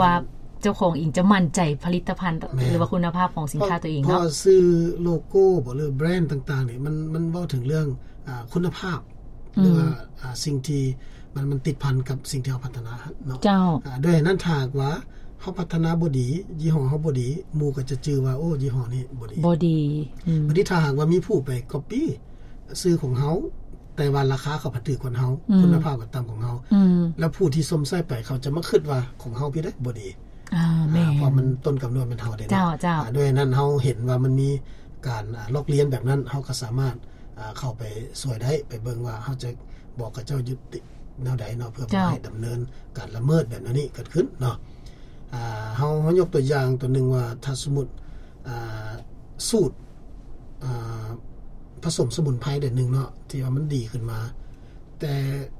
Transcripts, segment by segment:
ວ່າເຈົ້າຂອງເອງຈະໝັ້ນໃຈຜະລິດຕະພັນ ແມ່ນ ຫຼືວ່າຄຸນນະພາບຂອງສິນຄ້າ ເພາະ ຕົວເອງເນາະ ເພາະວ່າຊື່ໂລໂກ້ບໍ ຫຼືແບຣນຕ່າງໆນີ້ ມັນ ມັນເວົ້າເຖິງເລື່ອງ ອ່າ ຄຸນນະພາບ ອືມ ຫຼືວ່າ ອ່າ ສິ່ງທີ່ມັນ ມັນຕິດພັນກັບສິ່ງທີ່ເຮົາພັດທະນາເນາະ ເຈົ້າ ອາ ດ້ວຍນັ້ນ ຖ້າຫາກວ່າເຮົາພັດທະນາບໍ່ດີ ຍີ່ຫໍ້ເຮົາບໍ່ດີ ໝູ່ກໍຈະຈື່ວ່າ ໂອ້ ຍີ່ຫໍ້ນີ້ບໍ່ດີ ບໍ່ດີ ອືມ ບັດນີ້ຖ້າຫາກວ່າມີຜູ້ໄປກັອບປີ້ຊື່ຂອງເຮົາ ແຕ່ວ່າລາຄາເຂົາພັດຖືກກວ່າເຮົາ ອືມ ຄຸນນະພາບກໍຕ່ຳກວ່າເຮົາ ອືມ ແລ້ວຜູ້ທີ່ຊົມໃຊ້ໄປ ເຂົາຈະມາຄິດວ່າຂອງເຮົາພີ້ເດ້ບໍ່ດີ ອ່າ ອ່າ ແມ່ນ ເພາະມັນຕົ້ນກຳເນີດແມ່ນເຮົາເດ້ເນາະ ເຈົ້າ ເຈົ້າ ອ່າ ດ້ວຍນັ້ນເຮົາເຫັນວ່າມັນມີການ ອ່າ ລອກລຽນແບບນັ້ນ ເຮົາກໍສາມາດ ອ່າ ເຂົ້າໄປຊ່ວຍໄດ້ ໄປເບິ່ງວ່າເຮົາຈະບອກກັບເຈົ້າຢູ່ແນວໃດເນາະ ເພື່ອບໍ່ໃຫ້ດຳເນີນການລະເມີດແບບແນວນີ້ເກີດຂຶ້ນເນາະ ອ່າ ເຮົາ ເຮົາຍົກຕົວຢ່າງຕົວໜຶ່ງວ່າ ຖ້າສົມມຸດ ອ່າ ສູດ ອ່າ ຜະສົມສະໝຸນໄພແບບໜຶ່ງເນາະ ທີ່ວ່າມັນດີຂຶ້ນມາ ແຕ່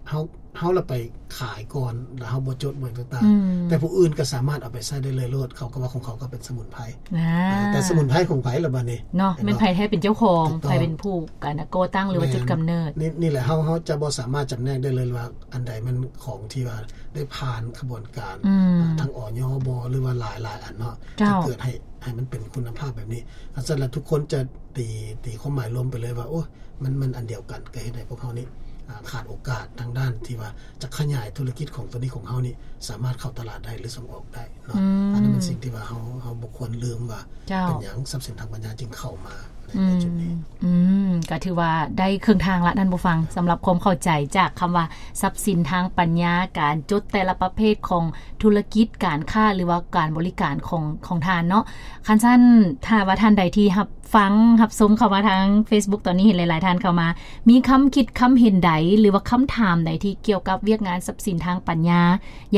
ເຮົາ ເຮົາລະໄປຂາຍກ່ອນ ແລ້ວເຮົາບໍ່ຈົດບໍ່ຫຍັງຕ່າງໆ ອືມ ແຕ່ຜູ້ອື່ນກໍສາມາດເອົາໄປໃຊ້ໄດ້ເລີຍໂລດ ເຂົາກໍວ່າຂອງເຂົາກໍເປັນສະໝຸນໄພ ອ່າ ແຕ່ສະໝຸນໄພຂອງໃຜລະບາດນີ້ ເນາະ ແມ່ນໃຜແທ້ເປັນເຈົ້າຂອງ ຖືກຕ້ອງ ໃຜເປັນຜູ້ ການ ກໍ່ຕັ້ງ ຫຼືວ່າ ແມ່ນ ຈຸດກຳເນີດ ນີ້ ນີ້ແຫຼະ ເຮົາ ເຮົາຈະບໍ່ສາມາດຈຳແນກໄດ້ເລີຍວ່າ ອັນໃດມັນຂອງທີ່ວ່າໄດ້ຜ່ານຂະບວນການ ອືມ ອ່າ ທາງ ອຢ ບໍ ຫຼືວ່າຫຼາຍໆອັນເນາະ ເຈົ້າ ທີ່ເກີດໃຫ້ ໃຫ້ມັນເປັນຄຸນນະພາບແບບນີ້ ອັນຊັ້ນລະ ທຸກຄົນຈະຕີ ຕີຄວາມໝາຍລວມໄປເລີຍວ່າ ໂອ້ ມັນ ມັນອັນດຽວກັນ ກໍເຮັດໃຫ້ພວກເຮົານີ້ ອ່າ ຂາດໂອກາດທາງດ້ານທີ່ວ່າຈະຂະຫຍາຍທຸລະກິດຂອງຕົວນີ້ຂອງເຮົານີ້ ສາມາດເຂົ້າຕະຫຼາດໄດ້ ຫຼືສົ່ງອອກໄດ້ເນາະ ອືມ ອັນນັ້ນເປັນສິ່ງທີ່ວ່າເຮົາ ເຮົາບໍ່ຄວນລືມວ່າ ເຈົ້າ ເປັນຫຍັງຊັບສິນທາງປັນຍາຈຶ່ງເຂົ້າມາໃນ ອືມ ໃນຈຸດນີ້ ອືມ ກໍຖືວ່າໄດ້ເຄິ່ງທາງລະທ່ານຜູ້ຟັງ ສຳລັບຄວາມເຂົ້າໃຈຈາກຄຳວ່າຊັບສິນທາງປັນຍາ ການຈົດແຕ່ລະປະເພດຂອງທຸລະກິດການຄ້າ ຫຼືວ່າການບໍລິການຂອງ ຂອງທ່ານເນາະ ຄັນຊັ້ນ ຖ້າວ່າທ່ານໃດທີ່ຮັບ ຟັງຮັບຊົມເຂົ້າມາທາງ Facebook ຕອນນີ້ເຫັນຫຼາຍໆທ່ານເຂົ້າມາ ມີຄຳຄິດຄຳເຫັນໃດ ຫຼືວ່າຄຳຖາມໃດທີ່ກ່ຽວກັບວຽກງານຊັບສິນທາງປັນຍາ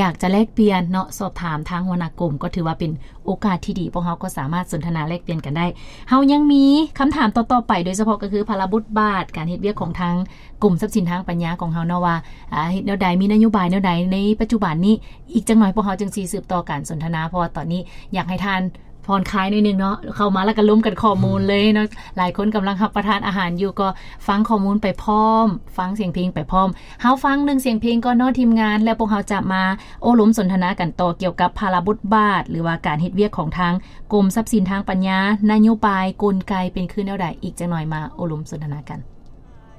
ຢາກຈະແລກປ່ຽນເນາະ ສອບຖາມທາງຫົວໜ້າກົມ ກໍຖືວ່າເປັນໂອກາດທີ່ດີ ພວກເຮົາກໍສາມາດສົນທະນາແລກປ່ຽນກັນໄດ້. ເຮົາຍັງມີຄຳຖາມຕໍ່ໆໄປ ໂດຍສະເພາະກໍຄືພາລະບົດບາດການເຮັດວຽກຂອງທາງກົມຊັບສິນທາງປັນຍາຂອງເຮົາເນາະວ່າ ອາ ເຮັດແນວໃດ ມີນະໂຍບາຍແນວໃດໃນປັດຈຸບັນນີ້. ອີກຈັກໜ່ອຍພວກເຮົາຈຶ່ງຊິສືບຕໍ່ການສົນທະນາ ເພາະວ່າຕອນນີ້ຢາກໃຫ້ທ່ານ ຜ່ອນຄາຍໜ້ອຍໜຶ່ງເນາະ ເຂົ້າມາແລ້ວກໍລົມກັນຂໍ້ມູນເລີຍເນາະ ອືມ ຫຼາຍຄົນກຳລັງຮັບປະທານອາຫານຢູ່ ກໍຟັງຂໍ້ມູນໄປພ້ອມ ຟັງສຽງເພງໄປພ້ອມ. ເຮົາຟັງໜຶ່ງສຽງເພງກ່ອນເນາະທີມງານ ແລ້ວພວກເຮົາຈະມາໂອ້ລົມສົນທະນາກັນຕໍ່ ກ່ຽວກັບພາລະບົດບາດ ຫຼືວ່າການເຮັດວຽກຂອງທາງກົມຊັບສິນທາງປັນຍາ ນະໂຍບາຍ ກົນໄກເປັນຄືແນວໃດ ອີກຈັກໜ່ອຍມາໂອ້ລົມສົນທະນາກັນ.